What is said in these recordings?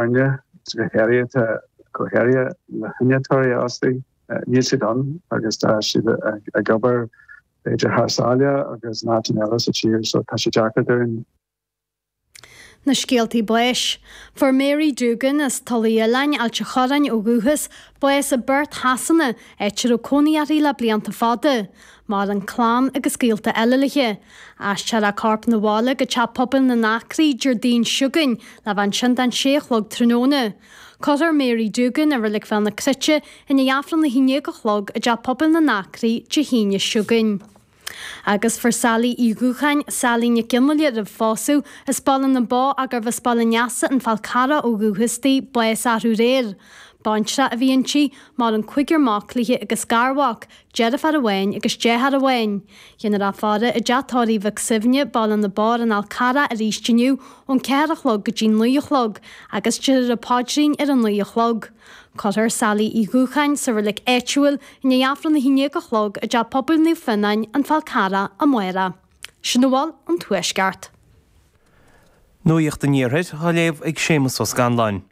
Foirne, go háirithe go háirithe na hinnealtóirí a fhostú, níl siad ann agus tá siad ag obair b'fhéidir thar sáile agus in áiteanna eile sa tír so tá sé deacair dúinn. Na scéaltaí báis. Fuair Mary Doogan as Tulaigh Oileáin, Ailt a' Chorráin ó dhúchas, bás i bPerth Shasana, áit a raibh cónaí uirthi le blianta fada. Maireann clann agus gaolta eile léi. Aistreofar a corp 'na bhaile go Teach Pobail na nAcraí Déardaoin seo chugainn le bheith ansin don sé a chlog tráthnóna. Cuirfear Mary Doogan i Reilig Bhéal na Cruite i ndiaidh Aifreann a haon déag a chlog i dTeach Pobail na nAcraí Dé hAoine seo chugainn. Agus fuair Sally Uí Dhúcháin, Sally Nic Fhionnghaile roimh phósadh, as Baile na mBó ach gurbh as Baile an Easa, An Fál Carrach ó dhúchas di, bás arú aréir. Baintreach a bhí inti, maireann cúigear mac léi agus garmhac, deirfiúr amháin agus deartháir amháin. Déanfar í a fhaire i dteach tórraimh Mhic Suibhne, Baile na bPó ar an Fhál Carrach arís inniu ón 4 a chlog go dtí 9 a chlog agus déarfar an paidrín ar a 9 a chlog. Cuirfear Sally Uí Dhúcháin sa reilig áitiúil i ndiaidh Aifreann a 11 a chlog i dTeach Pobail Naomh Fionnáin, An Fál Carrach, amárach. Sin a bhfuil ón Tuaisceart. Nuacht an Iarthair á léamh ag Séamus Ó Scanláin.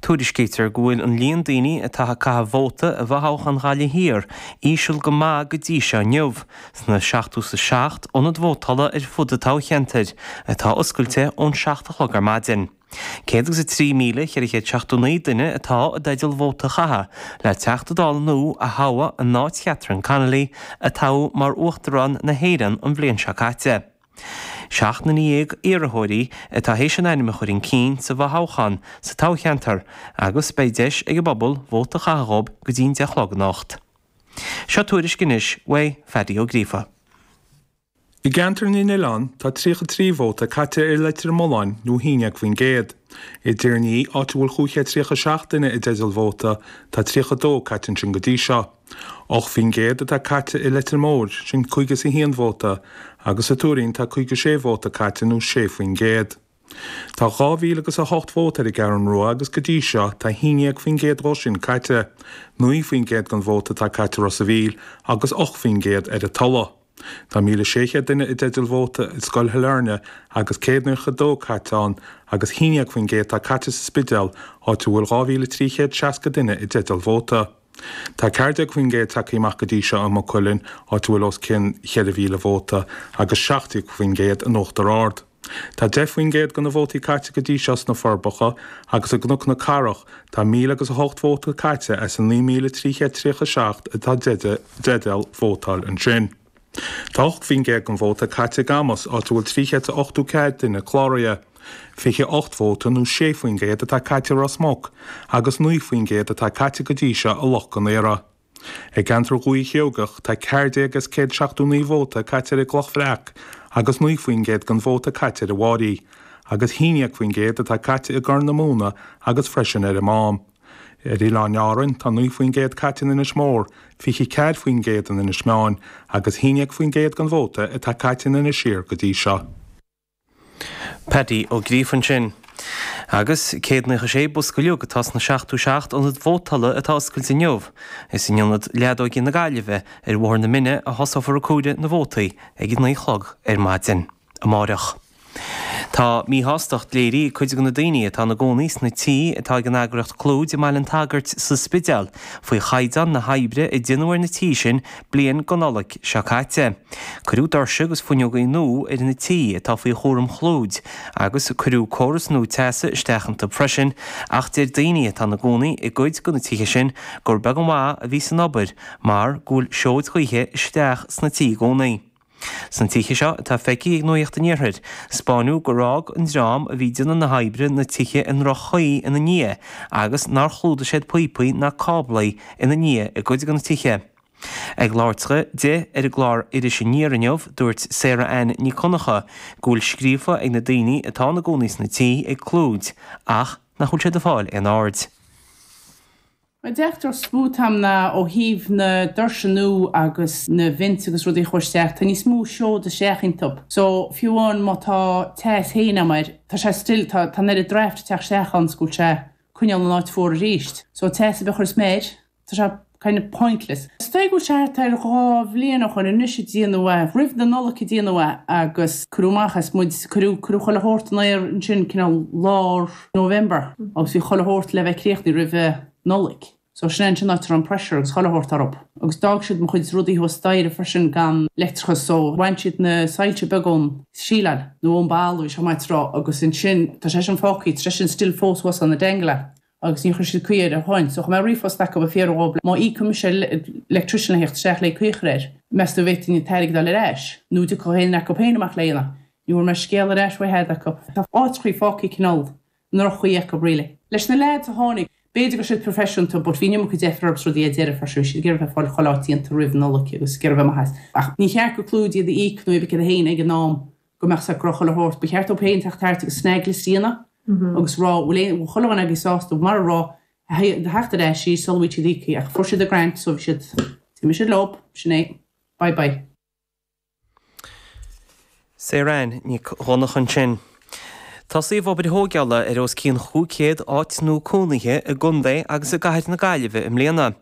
Tuairiscítear go bhfuil an líon daoine atá ag caitheamh vóta i bhfothoghchán Ghaillimh Thiar íseal go maith go dtí seo inniu, sna 77 ionad vótála ar fud an toghcheantair, atá oscailte ón 7 a chlog ar maidin. 103,479 duine atá i dteideal vóta a chaitheamh le Teachta Dála nua a thoghadh in áit Chatherine Connolly, a toghadh mar Uachtarán na hÉireann an bhliain seo caite. 17 nduine iarrthóirí atá théis a n-ainm a chur chun cinn sa bhfothoghchán sa toghcheantar agus beidh deis ag an bpobal vóta a chaitheamh dhóibh go dtí'n 10 a chlog anocht. Seo tuairisc anois uaidh Phaddy Ó Gríofa. I gceantar na nOileán tá 33 vóta caite ar Leitir Mealláin nó 11%. I dTír an Fhia, áit a bhfuil 537 duine i dteideal vóta, tá 32 caite ansin go dtí seo. 8% atá caite i Leitir Móir, sin 51 vóta, agus sa Tuairín tá 56 vóta caite nó 6%. Tá 2,000 agus 8 vóta ar an gCeathrún Rua agus go dtí seo tá 11% dhó sin caite, 9% den vóta atá caite i Ros a' Mhíl agus 8% ar an Tulaigh. Tá 1,600 duine i dteideal vóta i Scoil Shailearna agus 192 caite ann agus 11% atá caite sa Spidéal áit a bhfuil 2,360 duine i dteideal vóta. Tá 14% tagtha amach go dtí seo i Maigh Cuilinn, áit a bhfuil os cionn 4,000 vóta, agus 17% in Uachtar Ard. Tá 10% de na vótaí caite go dtí seo sna Forbacha agus i gCnoc na Cathrach tá 1,000 agus 8 vóta caite as an 9,337 atá i dteideal vótáil ansin. Tá 8% den vóta caite i gCamus, áit a bhfuil 384 duine cláraithe. 28 vóta nó 6% atá caite i Ros Muc agus 9% atá caite go dtí seo i Loch Con Aora. I gceantar Dhúiche Sheoigeach tá 14 as 179 vóta caite ar an gCloch Bhreac agus 9% den vóta caite ar an bhFáirí, agus 11% atá caite i gCorr na Móna agus freisin ar an Mám. Ar Oileáin Árainn, tá 9% caite in Inis Mór, 24% in Inis Meáin agus 11% den vóta atá caite in Inis Oírr go dtí seo. Paddy Ó Gríofa ansin. Agus 196 bosca uilig atá sna 77 ionad vótála atá oscailte inniu. Is in Ionad Leadóige na Gaillimhe ar Bhóthar na Mine a thosófar ag comhaireamh na vótaí ag a 9 a chlog ar maidin amáireach. Tá míshástacht léirithe ag cuid de na daoine atá ina gcónaí sna tithe atá ag an eagraíocht Clúid i mBaile an tSagairt sa Spidéal faoi chaighdeán na hoibre a déanadh ar na tithe sin bliain go Nollaig seo caite. Cuireadh doirse agus fuinneogaí nua ar na tithe atá faoi chúram Chlúid agus cuireadh córas nua teasa isteach iontu freisin ach deir daoine atá ina gcónaí i gcuid de na tithe sin gur beag an mhaith a bhí san obair mar go bhfuil seoid ghaoithe isteach sna tithe i gcónaí. Sna tithe seo atá feicthe ag Nuacht an Iarthair, 'spáineadh gur fhág an dream a bhí ag déanamh na hoibre na tithe i ndroch-chaoi ina ndiaidh agus nár chlúdaigh siad píopaí ná cáblaí ina ndiaidh i gcuid de na tithe. Ag labhairt di ar an gclár Iris Aniar inniu, dúirt Sarah Ann Nic Dhonncha go bhfuil scríofa ag na daoine atá ina gcónaí sna tithe ag Clúid ach nach bhfuil siad ag fáil aon aird. An deacracht is mó atá agam ná ó thaobh na doirse nua agus na vents agus rudaí a chur isteach, tá níos mó seod isteach iontub. So, fiú amháin má tá teas féin agam air, tá sé still, tá, tá an oiread draft ag teacht isteach ann 's go bhfuil sé coinneáil an áit fuar arís. So, teas ar bith a chuireas mé air, tá sé. kind of pointless. Is dóigh go bhfuil sé thart ar 2 bhliain ó shoin anois a déanadh é, roimh na Nollag a déanadh é agus cuireadh amach as muid, cuireadh, cuireadh chuile shórt in aer ansin cineál lár November agus bhí chuile shórt le bheith críochnaithe roimhe Nollaig. So sin é ansin áit a raibh an pressure agus chuile shórt orthub. Agus d'fhág siad mo chuid rudaí thuas staighre freisin gan leictreachas so bhain siad na soilse beaga ón síleáil nó ón balla bhí sé maith tráth agus ansin tá sé sin fágtha, tá sé sin still fós thuas ann ag dangle agus níor chuir siad caoi air ó shoin. So chuir mé ríomhphost acu ag fiafraí dhób má íocfaidh mise electrician le theacht isteach le caoi a chur air, meas tú an bhféadfainn an t-airgead a fháil ar ais nó an dtiocfadh éinne acu féin amach le a dhéanamh. Ní bhfuair mé scéal ar ais uathu acu. Tá áiteachaí fágtha cineál i ndroch-chaoi acu really. Leis na leaids a tháinig, b'fhéidir go raibh siad proifisiúnta but bhí an iomarca deifir orthu is rudaí ar deireadh freisin, bhí siad ag iarraidh bheith ag fáil chuile áit déanta roimh Nollaig agus ag iarraidh bheith maith as. Ach ní cheart go Clúid iad a íoc nó iad féin ag an am go mbeadh 's acu go raibh chuile shórt. Ba cheart dóibh féin teacht thart agus snag list a dhéanamh agus rá bhfuil aon, bhfuil chuile dhuine agaibh sásta mar a raibh theacht ar ais sula bhfuil siad íoctha ach fuair siad a grant so bhí siad, d'imigh siad leo, sin é, bye bye. Sarah Ann Nic Dhonncha ansin. Tosaíodh obair thóigeála ar os cionn 500 áit nua cónaithe i gcontae agus i gcathair na Gaillimhe i mbliana.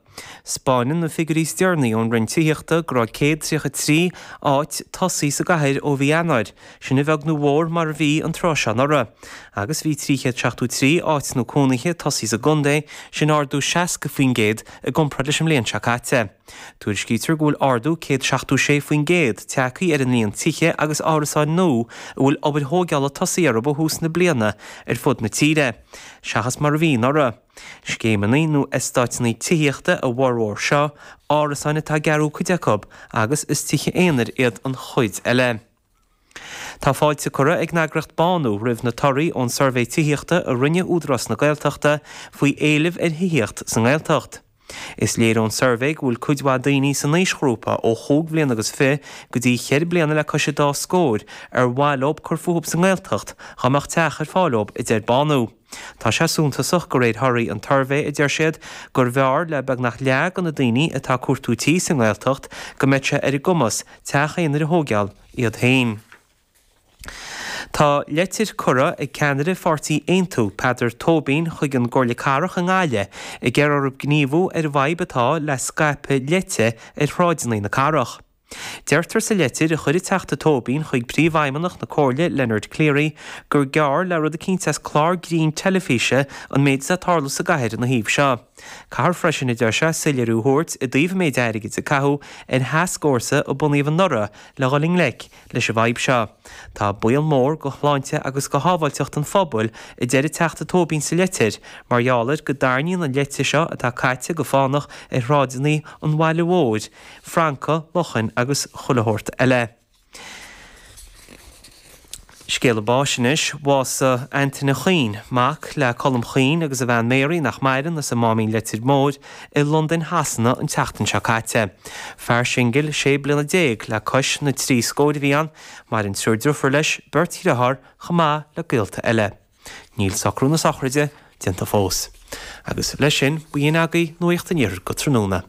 'Spáineann na figiúirí is deireanaí ón Roinn Tithíochta go raibh 133 áit tosaithe sa gcathair ó mhí Eanáir, sin a bheag nó a mhór mar a bhí an tráth seo anuraidh. Agus bhí 373 áit nua cónaithe tosaithe sa gcontae, sin ardú 60% i gcomparáid leis an mbliain seo caite. Tuairiscítear go bhfuil ardú 176% tagtha ar an líon tithe agus árasáin nua a bhfuil obair thóigeála tosaithe orthu ó thús na bliana ar fud na tíre, seachas mar a bhí anuraidh. Scéimeanna nó eastáiteanna tithíochta a bhformhór seo, árasáin atá á gcearú cuid acu agus is tithe aonair iad an chuid eile. Tá fáilte curtha ag an eagraíocht Bánú roimh na torthaí ón suirbhé tithíochta a rinne Údarás na Gaeltachta faoi éileamh ar thithíocht sa nGaeltacht. Is léir ón suirbhé go bhfuil cuid mhaith daoine san aoisghrúpa ó chúig bhliana agus fi go dtí cheithre bliana le cois an dá scór ar mhaith leo cur fúthu sa nGaeltacht dhá mbeadh teach ar fáil dóibh, a deir Bánú. Tá sé suntasach, de réir thorthaí an tsuirbhé, a deir siad, gurbh fhearr le beagnach leath de na daoine atá ag cuartú tí sa nGaeltacht go mbeadh sé ar a gcumas teach aonair a thóigeáil iad féin. Tá leitir curtha ag ceannaire pháirtí Aontú, Peadar Tóibín, chuig an gComhairle Cathrach i nGaillimh ag iarraidh orthu gníomhú ar an bhfadhb atá le scaipeadh leite ar shráideanna na cathrach. Deirtear sa leitir a chuir an Teachta Tóibín chuig Príomhfheidhmeannach na Comhairle, Leonard Cleary, gur gearr le rud eicínt as clár grinn teilifíse an méid atá ag tarlú sa gcathair ina thaobh seo. Caithfear freisin, a deir sé, soiléiriú a thabhairt i dtaobh an méid airgid a caitheadh ar thascfhórsa a bunaíodh anuraidh le dhul i ngleic leis an bhfadhb seo. Tá baol mór go shláinte agus go shábháilteacht an phobail, a deir an Teachta Tóibín sa leitir, mar gheall ar go dtarraingíonn an leite seo atá caite go fánach ar shráideanna an bhaile mhóir, francaigh, luchain agus chuile shórt eile. Scéala báis anois. Bhásaigh Antaine Chuinn, mac le Colm Chuinn agus a bhean Mary, nach maireann, as an Máimín Leitir Móir, i Londain Shasana an tseachtain seo caite. Fear singil sé bliana le cois na dtrí scóir a bhí ann. Maireann triúr driofúr leis, beirt dhriotháir, chomh maith le gaolta eile. Níl socrú na sochraide déanta fós. Agus leis sin, b'in agaibh Nuacht an Iarthair go tráthnóna.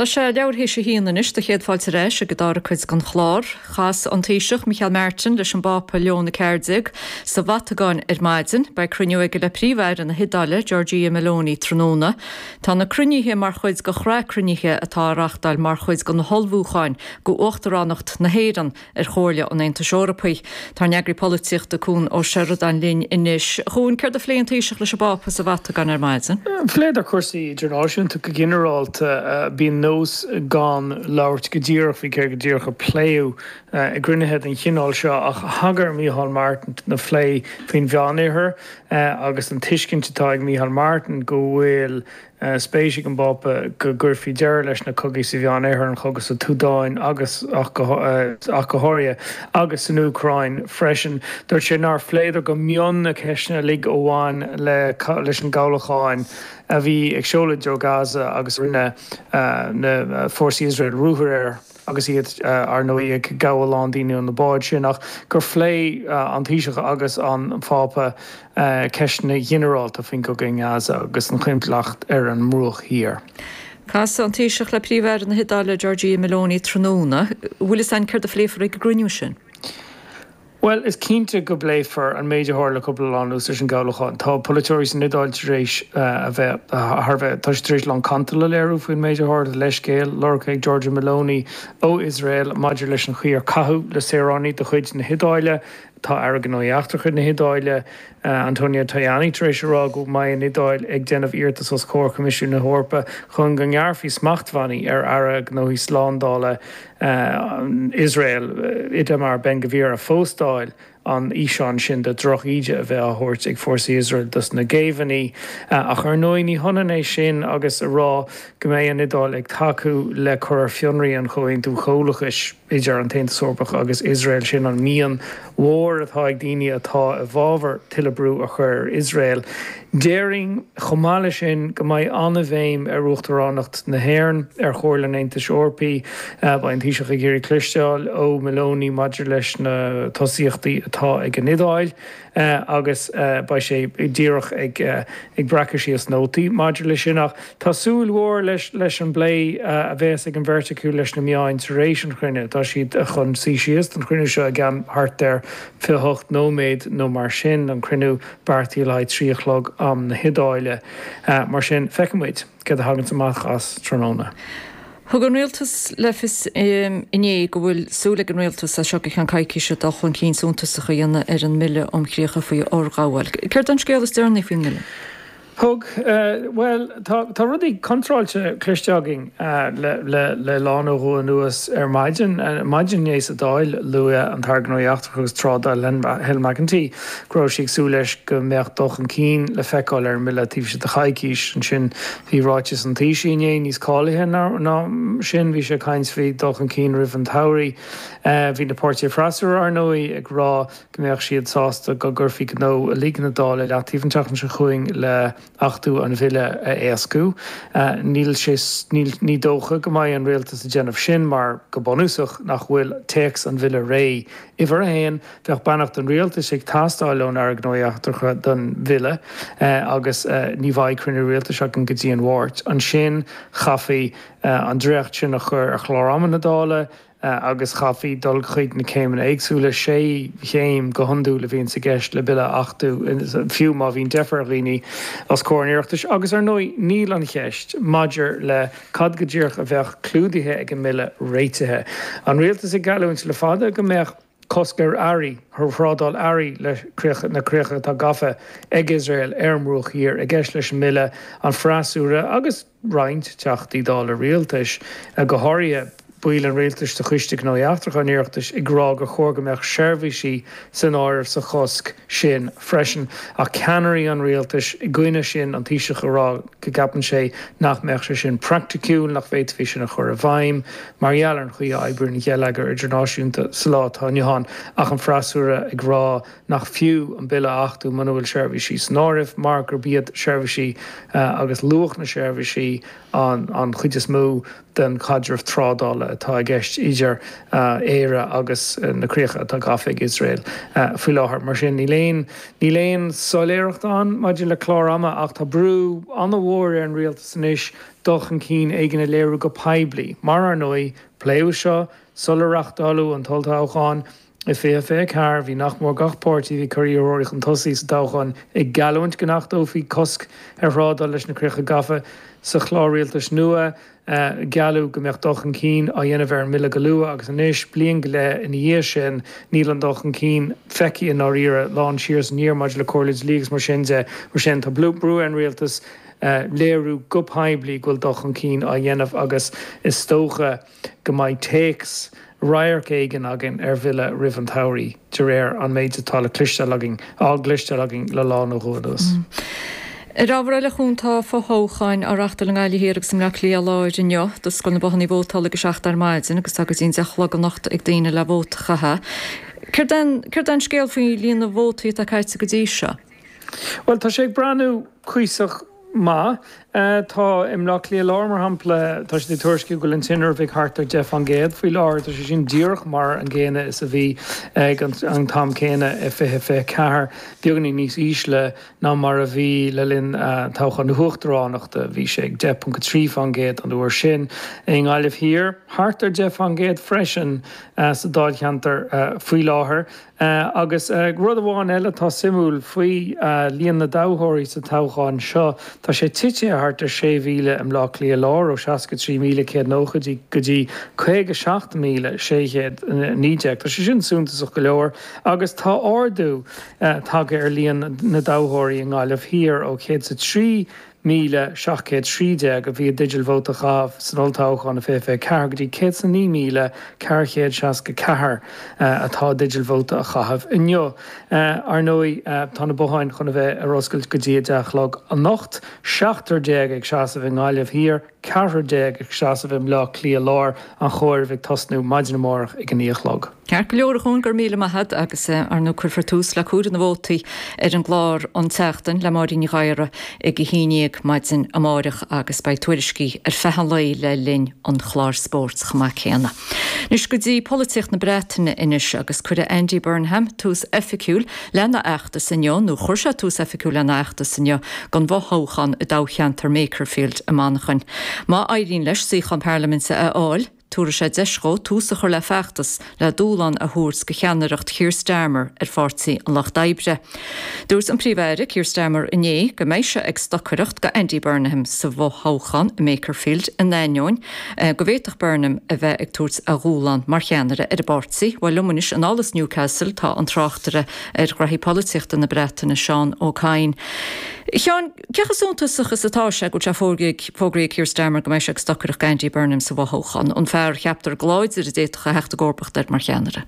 Tá sé leathuair théis a haon anois do chéad fáilte ar ais ag an dara cuid den chlár. Chas an Taoiseach Micheál Martin leis an bPápa Leon 14 sa Vatacáin ar maidin. Beidh cruinniú aige le Príomh-Aire na hIodáile, Giorgia Meloni, tráthnóna. Tá na cruinnithe mar chuid de shraith cruinnithe atá á reachtáil mar chuid de na hullmhúcháin go Uachtaránacht na hÉireann ar Chomhairle an Aontais Eorpaigh. Tá ár n-eagraí polaitíochta Cuan Ó Seireadáin linn anois. A Chuain, céard a phléigh an Taoiseach leis an bPápa sa Vatacáin ar maidin? Phléadar cúrsaí idirnáisiúnta go ginearálta. Bíonn nós gan labhairt go díreach faoi céard go díreach a pléadh i gcruinnithe den chineál seo ach thagair Micheál Martin do na plé faoin Mheánoirthear agus an tuiscint atá ag Micheál Martin go bhfuil spéis ag an bPápa go gcuirfí deireadh leis na cogaí sa Mheánoirthear, an cogadh sa tSúdáin agus ach go háirithe, agus san Úcráin freisin. Dúirt sé nár phléadar go mion na ceisteanna uilig a bhain leis an gcabhlach a bhí ag seoladh i dtreo Gaza agus rinne na fórsaí Iosrael ruathar air. agus iad, ar ndóigh, ag gabháil a lán daoine ó na báid sin, ach gur phléigh an Taoiseach agus an Pápa ceisteanna ginearálta faoin gcogadh i nGaza agus an choinbhleacht ar an mBruach Thiar. Casfaidh an Taoiseach le Príomh-Aire na hIodáile, Giorgia Meloni, tráthnóna. Bhfuil fhios a'inn céard a phléifear ag an gcruinniú sin? Bhuel, is cinnte go bpléifear an méid a tharla cúpla lá anuas leis an gcabhlach. Tá polaiteoirí san Iodáil tar éis a bheith thar a bheith, tá siad tar éis a lán cantail a léiriú faoin méid a tharla, leithscéal lorgtha ag Giorgia Meloni ó Iosrael maidir leis an chaoi ar caitheadh le saoránaigh de chuid na hIodáile. Tá Aire Gnóthaí Eachtracha na hIodáile, Antonio Tajani, tar éis a rá go mbeidh an Iodáil ag déanamh iarratas os comhair Choimisiún na hEorpa chun go ngearrfaí smachtbhannaí ar Aire Gnóthaí Slándála Iosrael, Itamar Ben-Gvir, a phóstáil an fhíseán sin de dhroch-íde a bheith á thabhairt ag fórsaí Iosrael dos na géibheannaigh. Ach ar ndóigh ní hionann é sin agus a rá go mbeidh an Iodáil ag tacú le cur ar fionraí an Chomhaontú Comhlachais idir an tAontas Eorpach agus Iosrael. Sin an mian mhór atá ag daoine atá i bhfabhar tuilleadh brú a chur ar Iosrael. Déarfainn, chomh maith leis sin, go mbeidh an-bhéim ar Uachtaránacht na hÉireann ar Chomhairle an Aontais Eorpaigh. Beidh an Taoiseach ag iarraidh cloisteáil ó Meloni maidir leis na tosaíochtaí atá ag an Iodáil agus beidh sé díreach ag breacadh síos nótaí maidir leis sin. Ach tá súil mhór leis an bplé a bheas ag an bheirt acu leis na meáin tar éis an chruinnithe. Tá siad chun suí síos don chruinniú seo i gceann thart ar 28 nóiméad nó mar sin, an cruinniú beartaithe le haghaidh 3 a chlog am na hIodáile. Mar sin, feicfidh muid céard a thaganns amach as tráthnóna. Thug an Rialtas le fios inné go bhfuil súil ag an Rialtas as seo go ceann coicíse dul chun cinn suntasach a dhéanamh ar an mBille um Chríocha faoi Fhorghabháil. Céard é an scéal is deireanaí faoin mBille? Thug. Bhuel, tá rudaí contráilte cloiste againn le lá nó dhó anuas. Ar maidin, maidin inné sa Dáil, luaigh an tAire Gnóthaí Eachtracha agus Trádála Helen McEntee go raibh sí ag súil leis go mbeadh dul chun cinn le feiceáil ar an mbille taobh istigh de choicís. Ansin bhí ráiteas an Taoisigh inné níos cáilithe ná sin, bhí sé ag caint faoi dhul chun cinn roimh an tsamhraidh. Bhí na páirtithe freasúra, ar ndóigh, ag rá go mbeadh siad sásta go gcuirfí gnó uilig na Dála i leataobh an tseachtain seo chugainn le hachtú an bhille a éascú. Níl sé, níl, ní dócha go mbeidh an rialtas ag déanamh sin mar, go bunúsach, nach bhfuil téacs an bhille réidh. Uimhir a haon, bheadh beannacht an rialtais ag teastáil ón Aire Gnóthaí Eachtracha don bhille agus ní bheidh cruinniú rialtais againn go dtí an Mháirt. Ansin chaithfí an dréacht sin a chur ar chlár ama na Dála, agus chaithfí dul chuig na céimeanna éagsúla, sé chéim go hiondúil a bhíonns i gceist le bille a achtú, fiú má bhíonn deifir ar dhaoine os comhair an Oireachtais. Agus ar ndóigh níl an cheist maidir le cad go díreach a bheadh clúdaithe ag an mbille réitithe. An rialtas ag geallúint le fada go mbeadh cosc ar earraí, ar thrádáil earraí le críocha, na críocha atá gafa ag Iosrael ar an mBruach Thiar i gceist leis an mbille, an freasúra agus roinnt Teachtaí Dála rialtais, go háirithe baill an rialtais de Choiste Gnóthaí Eachtracha an Oireachtais, ag rá gur chóir go mbeadh seirbhísí san áireamh sa chosc sin freisin. Ach ceannairí an rialtais i gcoinne sin, an Taoiseach ag rá go gceapann sé nach mbeadh sé sin praiticiúil, nach bhféadfaí sin a chur i bhfeidhm mar gheall ar an chaoi a oibríonn an geilleagar idirnáisiúnta sa lá atá inniu ann, ach an freasúra ag rá nach fiú an bille a achtú muna bhfuil seirbhísí san áireamh mar gurb iad seirbhísí agus luach na seirbhísí an chuid is mó den chaidreamh trádála atá i gceist idir Éire agus na críocha atá gafa ag Iosrael faoi láthair. Mar sin, níl aon níl aon soiléireacht ann maidir le clár ama ach tá brú an-mhór ar an rialtas anois dul chun cinn éigin a léiriú go poiblí mar, ar ndóigh, pléadh seo sular reáchtáladh an t-olltoghchán. I 2024, bhí nach mór gach páirtí a bhí ag cur iarrthóirí chun tosaigh sa toghchán ag geallúint go n-achtófaí cosc ar thrádáil leis na críocha gafa sa chlár rialtais nua. Gealladh go mbeadh dul chun cinn á dhéanamh ar an mbille go luath agus anois, bliain go leith ina dhiaidh sin, níl an dul chun cinn feicthe i ndáiríre, lán siar is aniar maidir le comhairle dlí agus mar sin de. Mar sin, tá brú ar an rialtas léiriú go poiblí go bhfuil dul chun cinn á dhéanamh agus is dócha go mbeidh téacs radharc éigin againn ar bhille roimh an tsamhraidh, de réir an méid atá le cloisteáil againn, á gcloisteáil againn le lá nó dhó anuas. Ar ábhar eile, a Chuan, tá fothoghcháin á reáchtáil i nGaillimh Thiar agus i mBleá Cliath Láir inniu. D'oscail na bothanna vótála ag a 7 ar maidin agus tá go dtí an 10 a chlog anocht ag daoine le vóta a chaitheamh. Céard é céard é an scéal faoi líon na vótaí atá caite go dtí seo? Bhuel, tá sé ag breathnú cuíosach maith. Tá i mBleá Cliath Láir, mar shampla, tá siad ag tuairisciú go bhfuil an tinreamh ag thart ar 10% faoi láthair. Tá sé sin díreach mar an gcéanna is a bhí ag an t-am céanna i 2024, beagáinín níos ísle ná mar a bhí le linn toghchán na huachtaránachta. Bhí sé ag 10.3% an uair sin. I nGaillimh Thiar, thart ar 10% freisin sa dáilcheantar faoi láthair. Agus rud amháin eile atá suimiúil faoi líon na dtoghthóirí sa toghchán seo, tá sé tite thart ar 6,000 i mBleá Cliath Láir, ó 63,190 go dtí 57,619. Tá sé sin suntasach go leor agus tá ardú tagtha ar líon na dtoghthóirí i nGaillimh Thiar ó 103 1,713 a bhí i dteideal vóta a chaitheamh san olltoghchán i 2024 go dtí 109,464 atá i dteideal vóta a chaitheamh inniu. Ar ndóigh, tá na botháin chun a bheith ar oscailt go dtí 10 a chlog anocht, seachtar déag ag seasamh i nGaillimh Thiar, ceathrar déag ag seasamh i mBleá Cliath Láir, an chomhaireamh ag tosnú maidin amárach ag a 9 a chlog. Ceart go leor, a Chuain, go raibh míle maith agat agus ar ndóigh cuirfear tús le comhaireamh na vótaí ar an gclár an tseachtain le Máirín Ní Ghadhra ag a haon dhéag maidin amáireach agus beidh tuairiscí ar feadh an lae le linn an chláir spóirt chomh maith céanna. Anois go dtí polaitíocht na Breataine anois agus cuirfidh Andy Burnham tús oifigiúil lena fheachtas inniu, nó chuir sé tús oifigiúil lena fheachtas inniu don bhfothoghchán i dtoghcheantar Makerfield i Manchain. Má éiríonn leis suíochán parlaiminte a fháil, Tabharfaidh sé deis dhó tús a chur le feachtas le dúshlán a thabhairt do cheannaireacht Keir Starmer ar Pháirtí an Lucht Oibre. Dúirt an Príomh-Aire Keir Starmer inné go mbeidh sé ag stocaireacht do Andy Burnham sa bhfothoghchán i Makerfield in ainneoin go bhféadfadh Burnham a bheith ag tabhairt a dhúshlán mar cheannaire ar an bpáirtí. Bhuel liom anois anall as Newcastle tá an tráchtaire ar ghraithí polaitíochta na Breataine, Seán Ó Cadhain. A Sheáin, Cé chomh suntasach is atá sé go bhfuil sé fógraithe ag Keir Starmer go mbeidh sé ag stocaireacht d'Andy Burnham sa bhfothoghchán, an fear a cheaptar go láidir a d'fhéadfadh a theacht i gcomharbacht air mar cheannaire?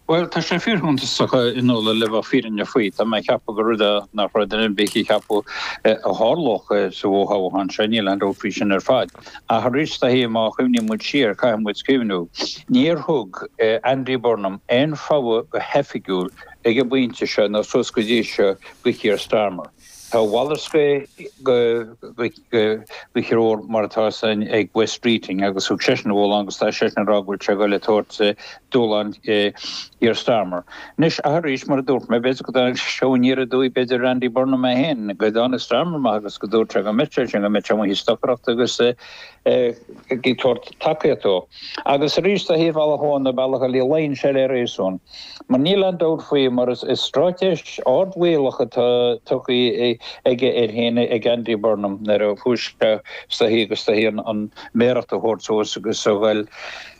Bhuel, tá sé fíorshuntasach a Nuala, le bheith fírinneach faoi. Tá mé ag ceapadh gur rud é nach raibh duine ar bith ag ceapadh a tharlódh sa bhfothoghchán seo, níl aon dabht faoi sin ar fad. Ach arís, is dóichí, má chuimhníonn muid siar, caithfidh muid cuimhniú, níor thug Andy Burnham aon fogha go hoifigiúil ag an bpointe seo nó suas go dtí seo do Keir Starmer. Tá a mhalairt de threoir mar atá san ag Wes Streeting agus thug seisean a dhúshlán agus tá seisean ag rá go bhfuil sé ag dul ag tabhairt dúshlán Keir Starmer. Anois, arís, mar a dúirt mé, b'fhéidir go dtáinig sé seo aniar aduaidh b'fhéidir ar Andy Burnham é féin, go dtáinig Starmer amach agus go dúirt sé go mbeadh sé sin, go mbeadh sé amuigh ag stocaireacht agus ag tabhairt tacaíocht dó. Agus arís, ar bhealach amháin nó bealach eile, luíonn sé le réasún. Mar níl aon dabht faoi, mar is straitéis ardbhaolach atá tugtha aige air féin ag Andy Burnham nuair a chuaigh sé is dóichí agus is dóichí an méaracht a thabhairt suas agus a ghoil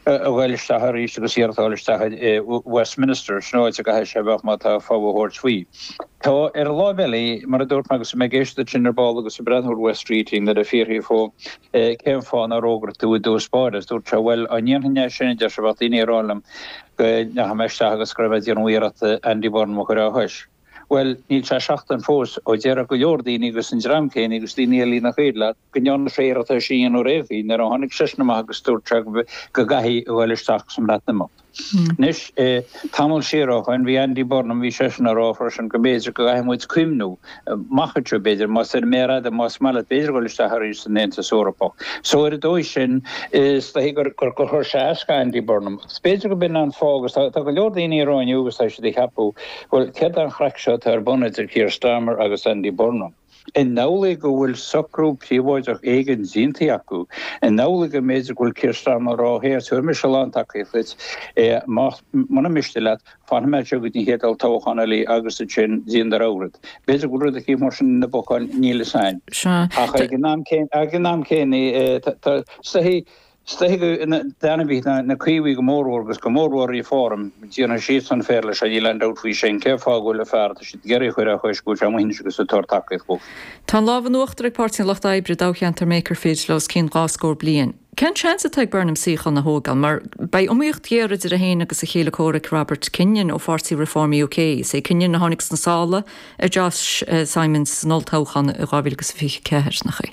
a ghoil isteach arís agus iarracht a dhul isteach i Westminster, sin áit a gcaithfidh sé a bheith má tá fogha a thabhairt faoi. Tá ar an láimh eile, mar a dúirt mé agus mé ag éisteacht duit sin ar ball agus ag breathnú ar Wes Streeting nuair a fiafraíodh dhó cén fáth nár fhógair tú i dtús báire agus dúirt sé bhuel dá ndéanfainn é sin a deir sé bheadh daoine ag rá liom go ndeachaigh mé isteach agus go raibh mé ag déanamh iarracht Andy Burnham a chur á chois. Bhuel, níl sé seachtain fós ó déarfadh go leor daoine agus an dream céanna agus daoine eile nach iad leat go ndearna sé iarracht é sin a dhéanamh ar aon chaoi nuair a tháinig seisean amach agus dúirt sé go gcaithfidh a ghoil isteach sa mBreatimeacht. Anois, tamall siar ó shoin, bhí Andy Burnham, bhí seisean ag rá freisin go mb'fhéidir go gcaithfidh muid cuimhniú amach anseo, b'fhéidir, más ar an méar fhada, más maith leat, b'fhéidir dhul isteach arís san Aontas Eorpach. So ar an dóigh sin, is dóichí gur chuir sé as do Andy Burnham. Agus b'fhéidir go b'in an fáth, agus tá go leor daoine ag rá inniu agus tá siad ag ceapadh, bhuel, céard é an chraic seo atá ar bun idir Keir Starmer agus Andy Burnham? An amhlaidh go bhfuil socrú príobháideach éigin déanta acu? An amhlaidh go mb'fhéidir go bhfuil Keir Starmer ag rá, Here, tabharfaidh mise a lán tacaíocht duit, más, muna miste leat, fanfaidh mé anseo go dtí an chéad olltoghchán eile agus ansin déan do rogha rud. B'fhéidir go bhfuil rud eicínt mar sin ina bpocáin, níl fhios a'inn. Ach ag an am céanna, tá, is dóichí, Is dóichí go d'ainmhithe na Caomhaigh go mórmhór agus go mórmhór Reform, déanfaidh siadsan féar leis, níl aon dabht faoi sin. Cén fáth go bhfuil an fear atá siad ag iarraidh a chur á chois, go bhfuil sé amuigh anois agus ag tabhairt tacaíocht dhó? Tá an lámh in uachtar ag Páirtí an Lucht Oibre i dtoghcheantar Makerfield le os cionn 2 scór bliain. Cén seans atá ag Burnham suíochán a thógáil mar beidh iomaíocht ghéar idir é féin agus a chéile comhraic Robert Kenyon ó pháirtí Reform UK. Is é Kenyon a tháinig sna sála ar Josh Simons san olltoghchán i 2024, nach é?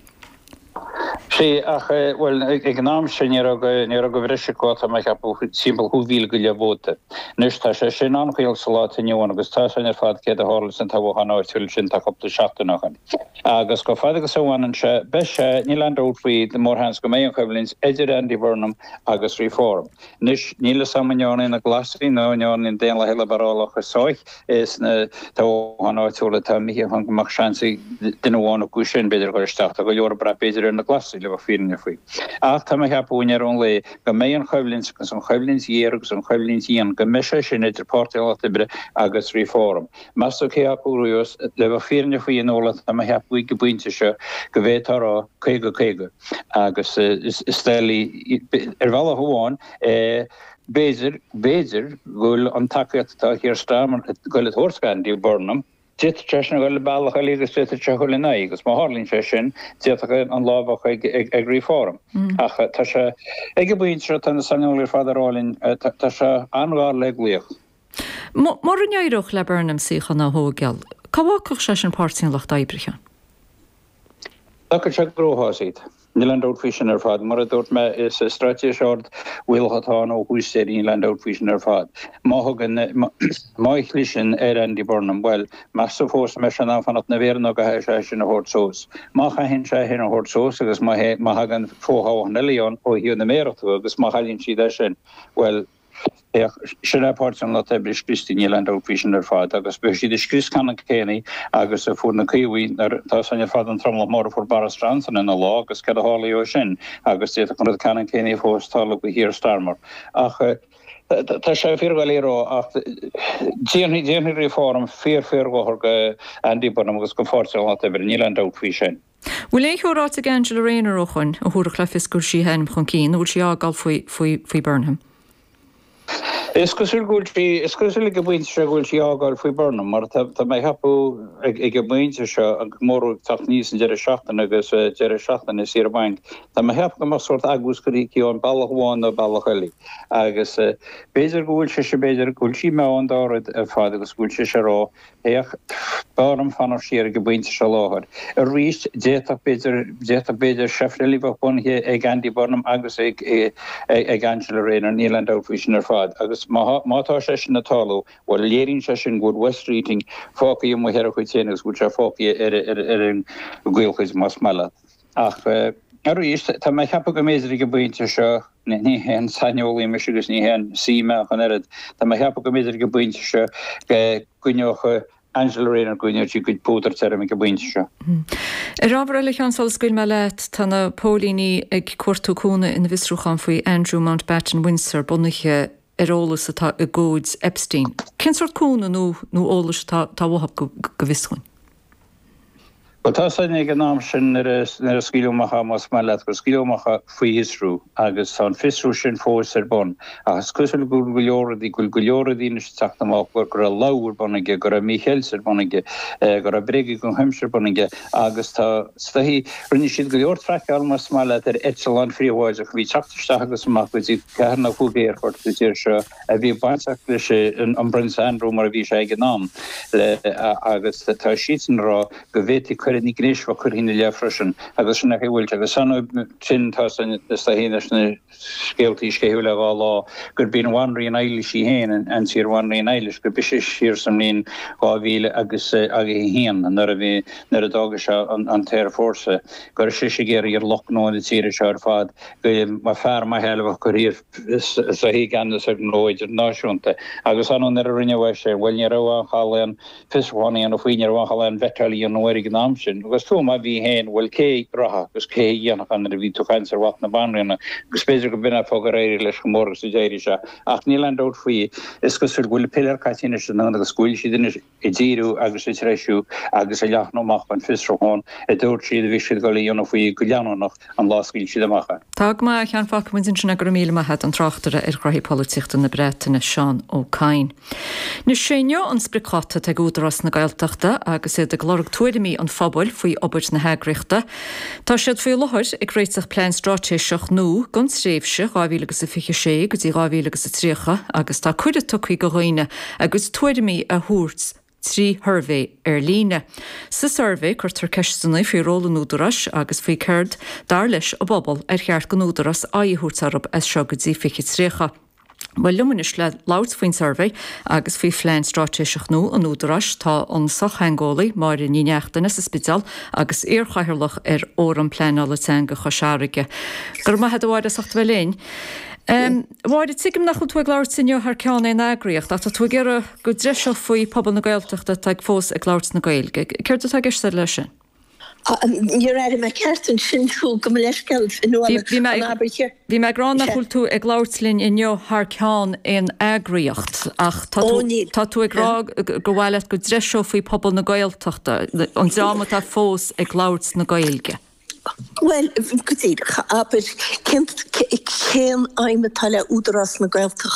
Sea, ach, bhuel, ag an am sin ní raibh, ní raibh de bhreis acu, tá mé ag ceapadh, timpeall 15,000 go leith vóta. Anois, tá sé sin an-chaol sa lá atá inniu ann agus tá a fhios againn ar fad céard a tharla san toghchán áitiúil sin tá cúpla seachtain ó shin. Agus chomh fada agus a bhaineann sé, beidh sé, níl aon dabht faoi, mórsheans go mbeidh an choimhlint idir Andy Burnham agus Reform. Anois, níl fhios a'm an ndearna na Glasaigh nó an ndearna na Daonlathaigh Liobrálacha sách sna toghcháin áitiúla atá imithe chun go mbeadh seans ag duine amháin acu sin, b'fhéidir, a dhul isteach. Tá go leor ag brath, b'fhéidir, ar na Glasaigh, le bheith fírinneach faoi. Ach tá mé ag ceapadh, i ndeireadh an lae, go mbeidh an choimhlint, agus an choimhlint ghéar agus an choimhlint dhian, go mbeidh sé sin idir Páirtí an Lucht Oibre agus Reform. Meas tú cé acu a bhuafas? Le bheith fírinneach faoi, a Nuala, tá mé ag ceapadh ag an bpointe seo go bhféadfá a rá 50, 50. Agus is doiligh, ar bhealach amháin, b'fhéidir, b'fhéidir go bhfuil an tacaíocht atá Keir Starmer ag goil a thabhairt do Andy Burnham, d'fhéadfadh sé sin a dhul bealach eile agus d'fhéadfadh sé a dhul ina aghaidh agus má tharlaíonn sé sin, d'fhéadfadh an lá a bheith ag Reform. Ach tá sé, ag an bpointe seo, tá na saineolaithe ar fad ag rá linn, tá sé an-ghar le glaoch. Mura n-éireodh le Burnham suíochán a thógáil, cá bhfágfadh sé sin Páirtí an Lucht Oibre, a Sheáin? D'fhágfadh sé i gcruachás iad. Níl aon dabht faoi sin ar fad. Mar a dúirt mé, is straitéis ard-bhaolach atá ann ó thús deireadh, níl aon dabht faoi sin ar fad. Má thugann, má chliseann ar Andy Burnham, bhuel, meas tú fós an mbeidh sé in ann fanacht ina mhéara nó an gcaithfidh sé é sin a thabhairt suas? Má chaitheann sé é sin a thabhairt suas agus má thagann fothoghchán eile ann ó thaobh na méarachta agus má chailleann siad é sin, bhuel, Féach, sin é Páirtí an Lucht Oibre scriosta, níl aon dabht faoi sin ar fad, agus beidh siad ag scrios ceannann céanna agus a fuair na Caomhaigh nuair tá a fhios againn ar fad an tromlach mór a fuair Boris Johnson ina lá agus céard a tharlaigh ó sin agus d'fhéadfadh an rud ceannann céanna fós tarlú do Keir Starmer. Ach tá sé fíordhoiligh a rá ach déanfaidh, déanfaidh Reform fíor, fíor-dhochar do Andy Burnham agus do Pháirtí an Lucht Oibre, níl aon dabht faoi sin. Bhfuil aon cheo ráite ag Angela Rayner ó shoin a thabharfadh le fios go bhfuil sí a hainm chun cinn nó bhfuil sí á fhágáil faoi, faoi, faoi Burnham? Is cosúil go bhfuil sí, is cosúil ag an bpointe seo go bhfuil sí á fhágáil faoi Burnham mar tá, tá mé ag ceapadh ag, ag an bpointe seo an móramh ag teacht aníos an deireadh seachtaine agus deireadh seachtaine saoire bainc, tá mé ag ceapadh go mbeadh sórt agús curtha aici ann bealach amháin nó bealach eile agus b'fhéidir go bhfuil sise, b'fhéidir go bhfuil sí i meon dá rud ar fad agus go bhfuil sise ag rá Féach, b'fhearr dom fanacht siar ag an bpointe seo láthair. Arís, d'fhéadfadh, b'fhéidir, d'fhéadfadh, b'fhéidir, seift eile a bheith bunaithe ag Andy Burnham agus ag, ag Angela Rayner, níl aon dabht faoi sin ar fad. Agus má, má tá sé sin ag tarlú, bhuel, léiríonn sé sin go bhfuil Wes Streeting fágtha amuigh ar a chuid féin agus go bhfuil sé fágtha ar, ar, ar an gcaolchuid, más maith leat. Ach, arís, tá mé ag ceapadh go mb'fhéidir ag an bpointe seo, Ní haon saineolaí mise agus ní haon saoi mé ach an oiread. Tá mé ag ceapadh go mb'fhéidir ag an bpointe seo go gcoinneodh Angela Rayner, go gcoinneodh sí a cuid púdair tirim ag an bpointe seo. Ar ábhar eile, a Sheáin, sula scaoilfidh mé leat, tá na póilíní ag cuartú cúnamh ina bhfiosrúchán faoi Andrew Mountbatten Windsor, bunaithe ar eolas atá i gcomhaid Epstein. Cén sórt cúnamh nó nó eolais atá atá uathu go go bhfios dúinn? Bhuel, tá a fhios againn ag an am sin nuair a nuair a scaoileadh amach é, más maith leat, gur scaoileadh amach é faoi fhiosrú agus tá an fiosrú sin fós ar bun. Ach is cosúil go bhfuil go leor rudaí, go bhfuil go leor rudaí anois ag teacht amach go raibh lobhadh ar bun aige, go raibh mícheilt ar bun aige, go raibh bréaga den chuimse ar bun aige agus tá, is dóichí, rinne siad go leor traiceáil, más maith leat, ar eitleáin phríobháideacha a bhí ag teacht isteach agus amach go dtí ceathair nó chúig aerfort sa tír seo a bhí bainteach leis an bPrionsa Andrew mar a bhí sé ag an am agus tá siadsan ag rá go bhféadfaí coireanna gnéis a bheith curtha ina leith freisin agus sin é a bhfuil agus sin tá is dóichí leis na scéaltaí sceitheadh le dhá lá gurb í an Bhanríon Eilís í féin an t-iar-Bhanríon Eilís gurb ise siar sa mbliain 2000 agus 1 nuair a bhí nuair a d'fhága sé an t-aerfhórsa go raibh sise ag iarraidh ar lucht gnó na tíre seo ar fad go mba fear maith eile a bheadh curtha is dóichí i gceannas ar ghnó idirnáisiúnta. Agus ar ndóigh nuair a rinneadh é sin, bhuel ní raibh aon chall aon fiosrúchán a dhéanamh faoi, ní raibh aon chall aon vettáil a dhéanamh air ag an am sin. Agus fiú má bhí féin, bhuel cé a rachadh agus cé a dhéanfadh é nuair a bhí tú ag caint ar mhac na banríona. Agus b'fhéidir go b'in an fáth gur éirigh leis chomh mór agus a d'éirigh sé. Ach níl aon dabht faoi, is cosúil go bhfuil an piléar caite anois anonn agus go bhfuil siad anois ag díriú agus ag treisiú agus ag leathnú amach an fiosrúchán a dúirt siad a bhí siad ag dul a dhéanamh faoi go leanúnach an lá a scaoil siad amach é. Tá go maith, a Sheáin, fágfaidh muid ansin é, go raibh míle maith a't, an tráchtaire ar ghnoithí polaitíochta na Breataine, Seán Ó Cadhain. Anois, sé inniu an spriocdháta atá ag Údarás na Gaeltachta agus iad ag lorg tuairimí an phobail faoi obair na heagraíochta. Tá siad faoi láthair ag réiteach plean straitéiseach nua don tréimhse 2026 go dtí 2030 agus tá cuireadh tugtha do dhaoine a gcuid tuairimí a thabhairt. trí shuirbhé ar líne. Sa suirbhé, cuirtear ceisteanna faoi ról an Údaráis agus faoi céard, dar leis an bpobal, ar cheart don Údarás aghaidh a thabhairt orthu as seo go dtí 2030. Bhuel, liom anois le labhairt faoin suirbhé agus faoi phlean straitéiseach nua an Údaráis tá an sochtheangeolaí Máire Ní Neachtain as an Spidéal agus iarchathaoirleach ar Fhóram Pleanála Teanga Chois Fharraige. Go raibh maith agat a Mháire as ucht a bheith linn. A Mháire, tuigim nach bhfuil tú ag labhairt inniu thar ceann aon eagraíocht ach tá tú ag iarraidh go dtreiseofaí pobal na Gaeltachta atá ag fós ag labhairt na Gaeilge. Céard atá i gceist agat leis sin? Níor airigh mé ceart ansin thú, gabh mo leithscéal, Fionnuala, Bhí mé an abair chéanna. Bhí mé ag rá nach bhfuil tú ag labhairt linn inniu thar ceann aon eagraíocht ach tá Ó tú, níl. tá tú ag rá gur mhaith leat go dtreiseofaí pobal na Gaeltachta, an dream atá fós ag labhairt na Gaeilge. Bhuel, go díreach, abair, cén, cén aidhm atá le Údarás na Gaeltachta?